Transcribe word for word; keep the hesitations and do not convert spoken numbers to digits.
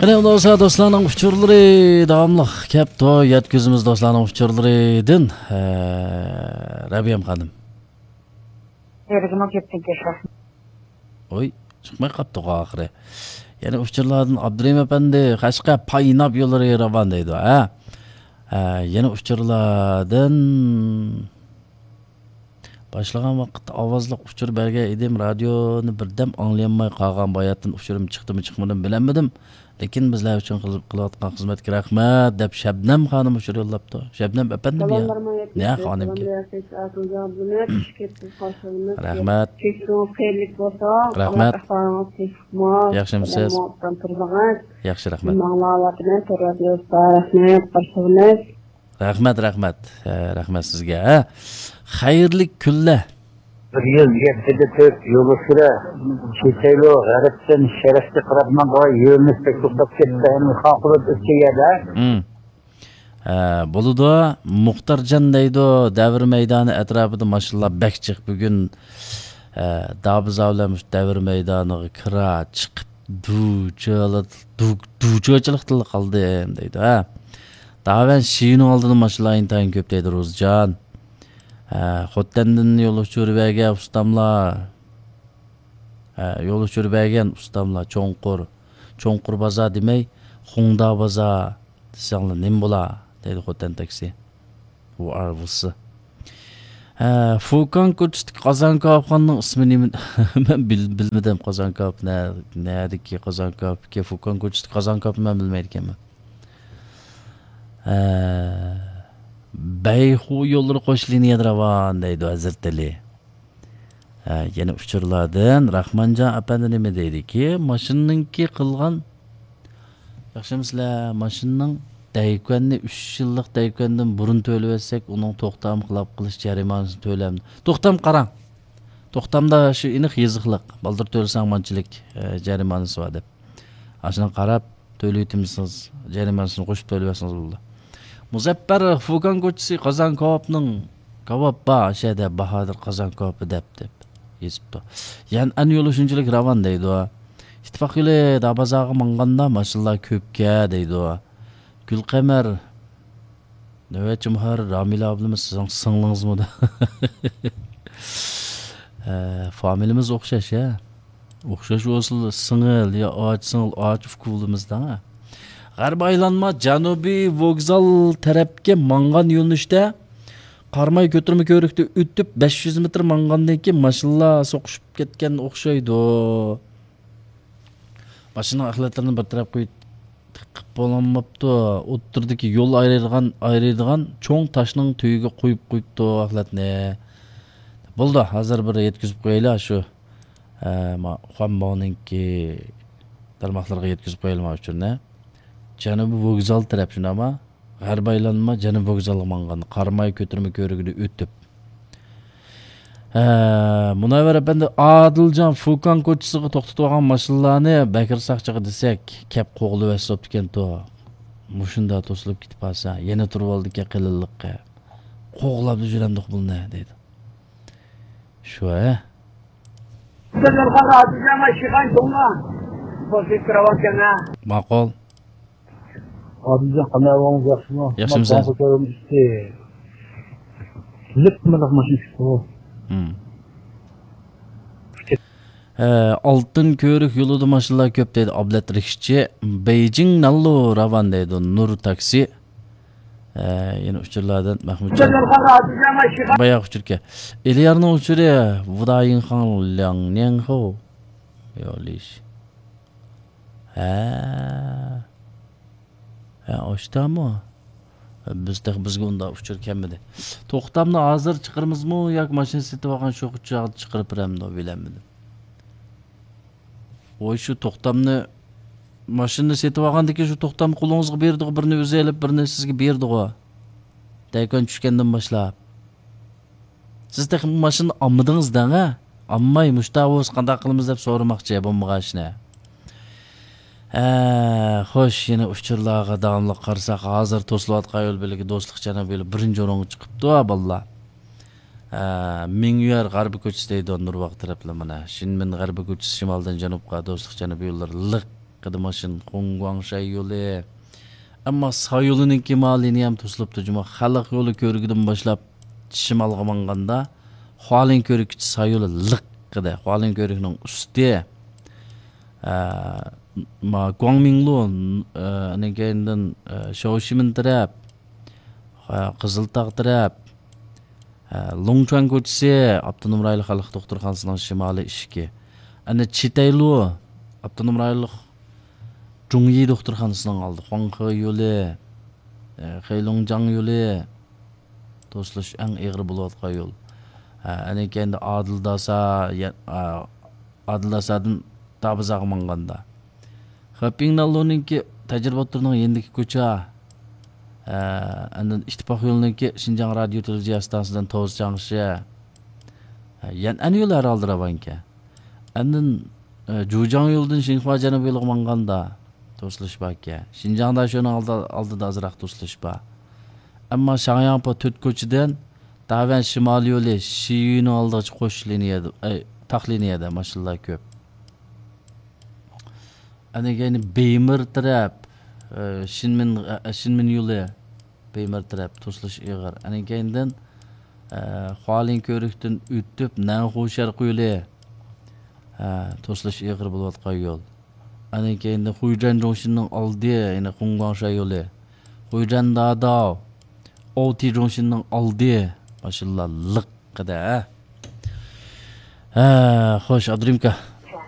قېنى، ئۇنداق بولسا، دوستلارنىڭ ئۇچۇرلىرى داۋاملىق كەپتۇ. يەتكۈزىمىز دوستلارنىڭ ئۇچۇرلىرىدىن. ھە، رەبىيەم خانىم. يەنىمۇ كەپتىكەن. ۋوي، چىقماي قاپتۇغۇ ئاخىرى. يەنە ئۇچۇرلاردىن ئابدۇرېھىم ئەپەندى، قەشقەر پايناپ يوللىرى راۋان دەيدۇ، ھە؟ ھە، يەنە ئۇچۇرلاردىن باشلىغان ۋاقىتتا ئاۋازلىق ئۇچۇر بەرگەن ئىدىم، رادىيونى بىردەم ئاڭلىيالماي قالغان، باياتىن ئۇچۇرۇم چىقتىمۇ چىقمىدىمۇ بىلەلمىدىم. لېكىن بىزلەر ئۈچۈن قىل-، قىلىۋاتقان خىزمەتكە رەھمەت، دەپ شەبنەم خانىم ئۇچۇر يوللاپتۇ. شەبنەم ئەپەندىم يا؟ سالاملارمۇ يەتكۈزدى. نە خانىمكى؟ سالاملار يەتكۈزدى. ئاكىمجان ئابدۇمەت، چۈشكەپسىز قارشىلىمىز. رەھمەت. كەچۈرۈڭىز خەيرلىك بولسۇن. رەھمەت. ئەھۋالىڭىز تىنچلىقمۇ؟ ياخشىمۇسىز؟ سالاممۇ ئوبدان تۇردىڭىز. ياخشى، رەھمەت. ماڭلاۋاتىمەن، تور رادىيوسىدا. رەھمەت، قارشىلىمىز. رەھمەت، رەھمەت. ھە، رەھمەت سىزگە، ھە. خەيرلىك كۈنلەر. بىر يۈز يەتتىدە تۆت يول ئۇچۇرى. كېسەيلو غەربتىن شەرققە قاراپ ماڭغان يۆنىلىش بەك توختاپ كەتتى. ئەمدى خان قۇلۇپ ئۆتكەن يەردە. ھە، بولىدۇ. مۇختارجان دەيدۇ، دەۋر مەيدانى ئەتراپىدا ماشىنىلار بەك جىق بۈگۈن. ھە، دابىزا بىلەن مۇشۇ دەۋر مەيدانىغا كىرا چىقىپ، دۇچىلىق، دۇ-، دۇچىلىقتىن قالدىم دەيدۇ. ھە. داۋەن شىنىڭ ئالدىدا ماشىنىلار ئىنتايىن كۆپ دەيدۇ روزىجان. ھە، خوتەندىن يول ئۇچۇرى بەرگەن ئۇستاملار. ھە، يول ئۇچۇرى بەرگەن ئۇستاملار، چوڭقۇر، چوڭقۇر بازار دېمەي، خۇڭدا بازار دېسەڭلار نېمە بولا؟ دەيدۇ خوتەن تاكسى. ۋۇ ئار ۋۇسى. ھە، فۇكان كوچىسىدىكى قازان كاۋاپخانىنىڭ ئىسمى نېمە؟ مەن بىل-، بىلمىدىم قازان كاۋاپ نە-، نەدىكى قازان كاۋاپكى؟ فۇكان كوچىسىدىكى قازان كاۋاپنى مەن بىلمەيدىكەنمەن. ھە، بەيخۇ يوللىرى قوش لىنىيەدە راۋان دەيدۇ ھەزرىتى ئەلى. ھە، يەنە ئۇچۇرلاردىن راخمانجان ئەپەندى نېمە دەيدىكى، ماشىنىنىڭكى قىلغان، ياخشىمۇسىلەر، ماشىنىنىڭ دەيكۈەننى ئۈچ يىللىق دەيكۈەندىن بۇرۇن تۆلىۋەتسەك، ئۇنىڭ توختام خىلاپ قىلىش جەرىمانىسىنى تۆلەم. توختام قاراڭ. توختامدا شۇ ئېنىق يېزىقلىق. بالدۇر تۆلىسەڭ مانچىلىك، ئە، جەرىمانىسى بار دەپ. ئاشۇنىڭغا قاراپ تۆلىۋېتىمسىز، جەرىمانىسىنى قوشۇپ تۆلىۋەتسىڭىز بولىدۇ. مۇزەپپەر فۇكان كوچىسى قازان كاۋاپنىڭ كاۋاپ بار، شەدە باھادىر قازان كاۋاپى دەپ، دەپ يېزىپتۇ. يەنئەن يولى شۇنچىلىك راۋان دەيدۇ. ئىتتىپاق يولى دابازاغا ماڭغاندا ماشىنىلار كۆپكە دەيدۇ. گۈلقەمەر نۆۋەتچى مۇھەررىر رامىلە ئابلىمىز سىزنىڭ سىڭلىڭىزمۇ؟ ھە، فامىلىمىز ئوخشاش، ھە. ئوخشاش بولسىلا سىڭىل يا ئاچا سىڭىل، ئاچا ئۇكا بولىمىز دەڭ، ھە. غەربىي ئايلانما جەنۇبىي ۋوگزال تەرەپكە ماڭغان يۆنىلىشتە قاراماي كۆتۈرمە كۆۋرۈكتە ئۆتۈپ، بەش يۈز مېتىر ماڭغاندىن كېيىن ماشىنىلار سوقۇشۇپ كەتكەن ئوخشايدۇ. ماشىنىنىڭ ئەخلەتلىرىنى بىر تەرەپكە قىلىپ بولالماپتۇ. ئوتتۇرىدىكى يول ئايرىيدىغان، ئايرىيدىغان چوڭ تاشنىڭ تۈۋىگە قويۇپ قويۇپتۇ ئەخلەتنى. بولدى، ھازىر بىر يەتكۈزۈپ قويايلى شۇ، ئە، ما-، خۇەنباۋنىڭكى تارماقلىرىغا يەتكۈزۈپ قويايلى ما ئۇچۇرنى. جەنۇبىي ۋوگزال تەرەپ شۇنداقما؟ غەربىي ئايلانما جەنۇبىي ۋوگزالغا ماڭغان، قاراماي كۆتۈرمە كۆۋرۈكىدىن ئۆتۈپ. ھە، مۇنەۋۋەر ئەپەندى، ئادىلجان فۇكان كوچىسىغا توختىتىۋالغان ماشىنىلارنى بەكرى ساقچىغا دېسەك، كەپ قوغلىۋەتسە بوپتىكەنتۇ. مۇشۇنداق توسۇلۇپ كېتىپ قالسا، يەنە تۇرۇۋالىدىكەن قېلىنلىققا. قوغلاپلا جۈرەمدۇق بۇلنى، دەيدۇ. شۇ، ھە؟ ماقۇل. ئادىلجان، قانداق ئەھۋالىڭىز، ياخشىمۇ؟ ياخشىمۇسىز؟ ماقۇل كۆتۈرۈم ئۈستى. لىپ مىلىق ماشىنا چىقتى بۇ. ھە، ئالتۇن كۆۋرۈك يولىدا ماشىنىلار كۆپ دەيدۇ ئابلەت رىكشىچى. بېيجىڭ نانلۇ راۋان دەيدۇ نۇر تاكسى. ھە، يەنە ئۇچۇرلاردىن مەھمۇتجان. باياق ئۇچۇركەن. ئېلىيارنىڭ ئۇچۇرى ۋۇدايىڭخاڭ لياڭنياڭخۇ. يولىش. ھە. ھە، ئاشتامۇ؟ بىز تېخى، بىزگە ئۇنداق ئۇچۇر كەلمىدى. توختامنى ھازىر چىقىرىمىزمۇ ياكى ماشىنا سېتىۋالغان شۇ چاغدا چىقىرىپ بېرەمدۇ، بىلەلمىدىم. ۋوي، شۇ توختامنى، ماشىنىنى سېتىۋالغاندىن كېيىن شۇ توختامنى قولىڭىزغا بېرىدىغۇ، بىرنى ئۆزى ئېلىپ، بىرنى سىزگە بېرىدىغۇ. دەيكۈەن چۈشكەندىن باشلاپ. سىز تېخى ماشىنىنى ئالمىدىڭىز دەڭ، ھە؟ ئالماي مۇشتا بولسا قانداق قىلىمىز دەپ سورىماقچى، بولمىغان ئىشنى. ھە، خوش، يەنە ئۇچۇرلارغا داۋاملىق قارىساق، ھازىر توسۇلۇۋاتقان يول بېلىكى دوستلۇق جەنۇبىي يولى بىرىنچى ئورۇنغا چىقىپتۇ، ھە، بالىلار. ھە، مىڭيۈەر غەربىي كوچىسى دەيدۇ، نۇرباغ تەرەپلەر مانا. شىنمىن غەربىي كوچىسى شىمالدىن جەنۇبقا دوستلۇق جەنۇبىي يوللىرى لىق. قىدى ماشىنا، خۇڭگۇاڭشەي يولى. ئەمما سا يولىنىڭكى ما لىنىيەم توسۇلۇپتۇ جۇمۇ. خەلق يولى كۆرۈكىدىن باشلاپ شىمالغا ماڭغاندا، خۇالىن كۆرۈككىچە سا يولى لىق قىدى. خۇالىن كۆرۈكنىڭ ئۈستى، ئە، ما، گۇاڭمىڭلۇ، ئە، ئاندىن كېيىندىن، ئە، شاۋشىمىن تەرەپ، ئە، قىزىلتاغ تەرەپ، ئە، لۇڭچۈەن كوچىسى، ئاپتونوم رايونلۇق خەلق دوختۇرخانىسىنىڭ شىمالىي ئىشىكى. ئەنە چىتەيلۇ، ئاپتونوم رايونلۇق جۇڭيى دوختۇرخانىسىنىڭ ئالدى، خۇاڭخې يولى، ئە، خېيلۇڭجاڭ يولى، توسۇلۇش ئەڭ ئېغىر بولۇۋاتقان يول. ئە، ئەنە كېيىندە ئادىلداسا، يە-، ئا، ئادىلداسادىن دابىزاغا ماڭغاندا. خېپىڭناللۇنىڭكى تەجرىبە ئوتتۇرىنىڭ يېنىدىكى كوچا. ئە، ئاندىن ئىتتىپاق يولىنىڭكى شىنجاڭ رادىيو تېلېۋىزىيە ئىستانسىسىدىن توزچاڭشى. ئە، يەنئەن يولى ھەر ھالدا راۋانكەن. ئاندىن، ئە، جۇجاڭ يولىدىن شىنخۇا جەنۇبىي يولىغا ماڭغاندا توسۇلۇش باركەن. شىنجاڭدا شۇنىڭ ئالدى-، ئالدىدا ئازراق توسۇلۇش بار. ئەمما شاڭياڭپو تۆت كوچىدىن داۋەن شىمالىي يولى شىيۈنىڭ ئالدىغىچە قوش لىنىيەدە، ئەي، تاق لىنىيەدە ماشىنىلار كۆپ. ئەنە كېيىن بېيمىر تەرەپ، ئە، شىنمىن، ئە، شىنمىن يولى بېيمىر تەرەپ توسۇلۇش ئېغىر. ئەنە كېيىندىن، ئە، خۇالىن كۆۋرۈكتىن ئۆتۈپ، نەنخۇ شەرقىي يولى، ئە، توسۇلۇش ئېغىر بولۇۋاتقان يول. ئەنە كېيىندىن خۇيجەن جۇڭشىننىڭ ئالدى، يەنى خۇڭگۇاڭشا يولى. خۇيجەن داداۋ، ئوتى جۇڭشىننىڭ ئالدى. ماشىنىلار لىق قىدە. ھە، خوش، ئابدۇرېھىمكا.